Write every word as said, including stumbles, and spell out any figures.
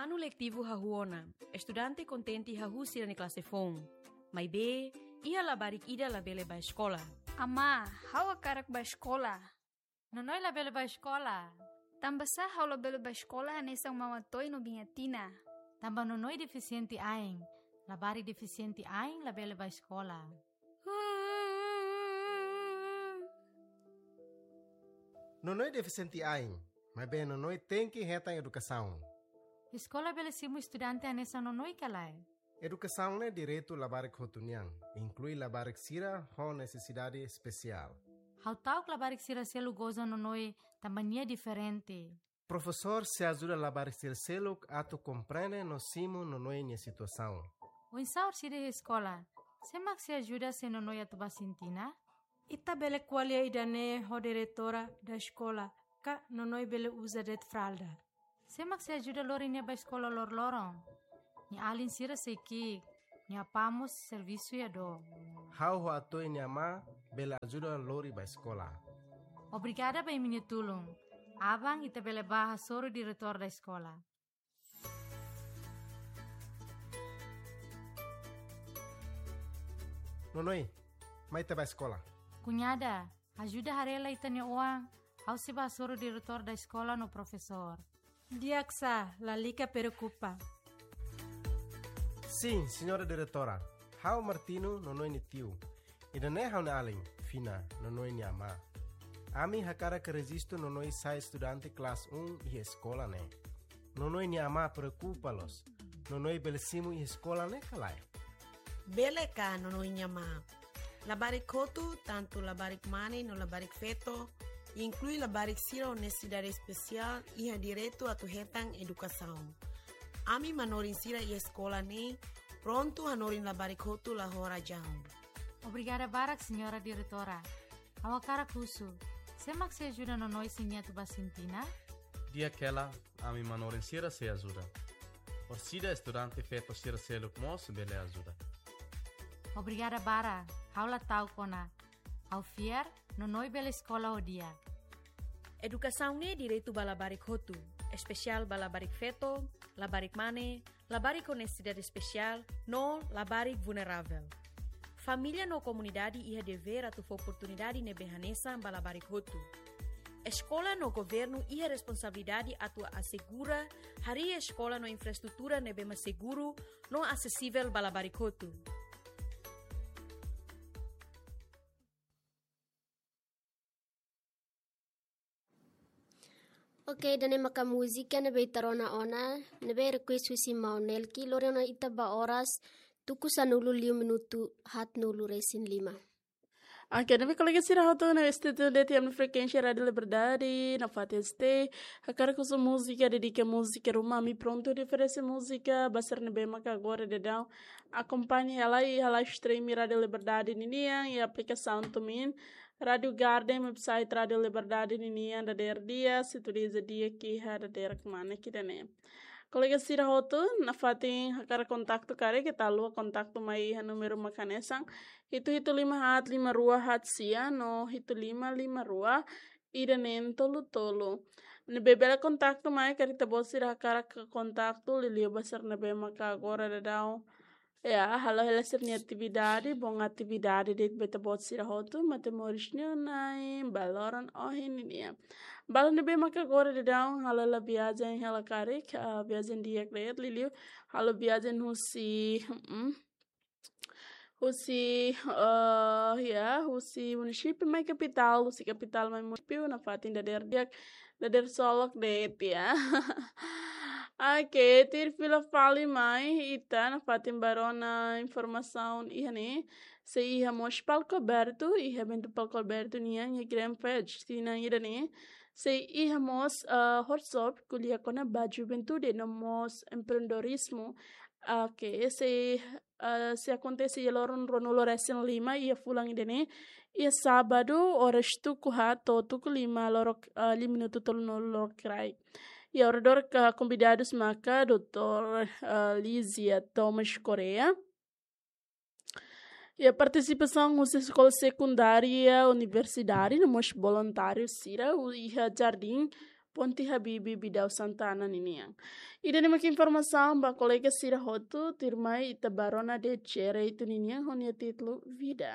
Anu letivu hahú ona, estudante kontente hahú sira-nia klase foun. Maibé, iha labarik ida labele bá eskola. Amá, ha'u hakarak bá eskola. Nonoi labele bá eskola. Tanbasá ha'u labele bá eskola hanesan Mama Toy no Biña Tina? Tanba Nonoi defisiente ain. Labarik defisiente ain labele bá eskola. Nonoi defisiente ain, maibé Nonoi tenke hetan edukasaun. Eskola bele simu estudante hanesan Nonoi ka lae? Edukasaun ne'e direitu labarik hotu nian, inklui labarik sira ho nesesidade espesiál. Ha'u ta'uk labarik sira seluk goza Nonoi tanba nia diferente. Profesór sei ajuda labarik sira seluk atu komprende no simu Nonoi nia situasaun. Oinsá orsida iha eskola? Sé mak sei ajuda se Nonoi atu bá sintina? Ita bele ko'alia ida-ne'e ho diretora da eskola, ka Nonoi bele uza de'it fralda. Sé mak sei ajuda lori nia bá eskola loroloron? Nia alin sira sei ki'ik, nia apá mós servisu iha dook. Ha'u ho Atoy nia amá bele ajuda lori bá eskola. Obrigada ba imi-nia tulun. Aban ita bele bá hasoru diretór da eskola. Nonoi, mai ita bá eskola. Kuñada, ajuda haree lai ita-nia oan, ha'u sei bá hasoru diretór da eskola no profesór. Di'ak sá, lalika preokupa. Sin, señora diretora, ha'u Martino, Nonoi nia tiu. Ida-ne'e ha'u-nia alin, Fina, Nonoi nia amá. Ami hakarak rejistu Nonoi sai estudante klase um iha eskola ne'e. Nonoi nia amá preokupa loos. Nonoi bele simu iha eskola ne'e ka lae? Bele ka, Nonoi nia amá? Labarik hotu, tantu labarik mane no labarik feto, inklui labarik sira ho nesesidade espesiál, iha direitu atu hetan edukasaun. Ami manorin sira iha eskola ne'e prontu hanorin labarik hotu la ho razaun. Obrigada barak, señora diretora. Ha'u hakarak husu, sé mak sei ajuda Nonoi se nia atu bá sintina? Di'ak hela, ami manorin sira sei ajuda. Orsida estudante feto sira seluk mós bele ajuda. Obrigada barak, ha'u la ta'uk ona. Ha'u fiar, Nonoi bele eskola ho di'ak. Edukasaun ne'e direitu ba labarik hotu, espesiál ba labarik feto, labarik mane, labarik ho nesesidade espesiál, no labarik vulneravel. Família no komunidade iha devér atu fó oportunidade ne'ebé hanesan ba labarik hotu. Eskola no governu iha responsabilidade atu asegura harii eskola no infraestrutura ne'ebé mak seguru no asesivel ba labarik hotu. Ok, ida-ne'e maka múzika ne'ebé ita rona ona, ne'ebé request husi Maun Nelki, lori ona ita ba oras tuku sanulu liu minutu haatnulu resin lima. Ok, ne'ebé kolega sira hotu ne'ebé stay tune de'it iha ami-nia frekuénsia Rádiu Liberdade, nafatin stay. Hakarak husu múzika, dedika múzika ruma, ami prontu oferese múzika ba sira ne'ebé maka agora daudaun akompaña hela iha live stream Rádiu Liberdade ninian, iha aplikasaun TuneIn, Rádiu Garden, website Rádiu Liberdade ninian, dadeer di'ak, sintoniza di'ak iha dadeer kmanek ida-ne'e. Kolega sira hotu, nafatin hakarak kontaktu karik, keta haluha kontaktu mai iha númeru mak hanesan hitu hitu lima haat lima rua haat sia no hitu lima lima rua ida neen tolu tolu. Ne'ebé bele kontaktu mai karik ita-boot sira hakarak kontaktu liuliu ba sira ne'ebé maka agora daudaun, ya, halo hela sira-nia atividade, bom atividade de'it ba ita-boot sira hotu, matemoris nian, Na'i, ba loron ohin nian. Ba ida ne'ebé maka agora daudaun halo hela viajen hela karik, ah, viajen di'ak de'it liuliu halo viajen husi, mm, husi, eh, ya, husi munisípiu mai kapitál, husi kapitál mai munisípiu, nafatin dadeer di'ak, dadeer solok de'it ya. Ok, tuir fila fali mai, ita nafatin bá rona informasaun iha ne'e, sei iha mós palku abertu, iha eventu palku abertu nian, iha Grand Fest, tinan ida-ne'e, sei iha mós, eh, workshop, ko'alia kona-ba juventude, no mós empreendedorizmu, ok, sei, eh, sei akontese iha loron ruanulu resin lima, iha fulan ida-ne'e, iha sábadu, oras tuku haat to'o tuku lima lorokraik, eh, lima minutu tolunulu lorokraik. Iha oradór ka konvidadus maka doutór, eh, Lizia Thomas Correia. Iha partisipasaun husi eskola sekundária, universidade, no mós voluntáriu sira, iha jardín Ponte Habibie Bidau Santana ninian. Ida-ne'e mak informasaun ba kolega sira hotu, tuirmai ita ba rona direitu ninian ho nia títulu Vida.